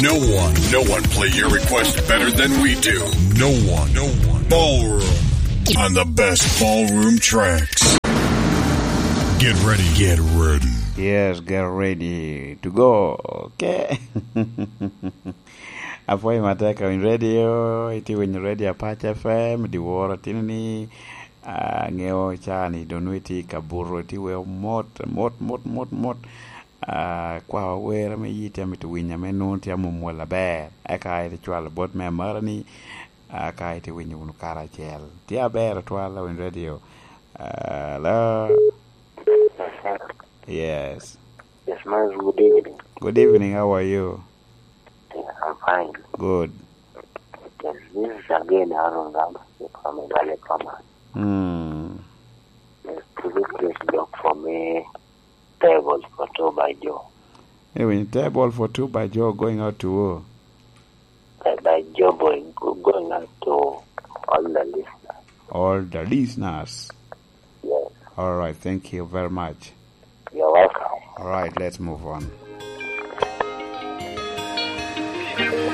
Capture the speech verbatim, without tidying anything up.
No one, no one play your request better than we do. No one, no one. Ballroom on the best ballroom tracks. Get ready, get ready. Yes, get ready to go. Okay. Apwoyo matek, in radio, itye winyo radio Apac F M, dyewor atino ni, ah, ŋeo ca ni doŋ nongo itye i kabuto, itye weo mot, mot, mot, mot, mot. Ah, kwa wer ame yie tye amito winyo, ame nongo tye amomwol aber. Eka ite cwalo bot me amara ni, ah, ka ite winyo wunu karacel. Tye aber atwal, Awiny Radio. Ah, hello? Yes, sir. Yes. Yes, man, good evening. Good evening, how are you? Yeah, I'm fine. Good. Yes, this is again Aaron Rama from Igale Farmers. Hmm. Yes, could you please look for me table for two by Joe? Anyway, table for two by Joe going out to who? By, by Joe boy, go-, going out to all the listeners. All the listeners. Yes. All right, thank you very much. You're welcome. All right, let's move on.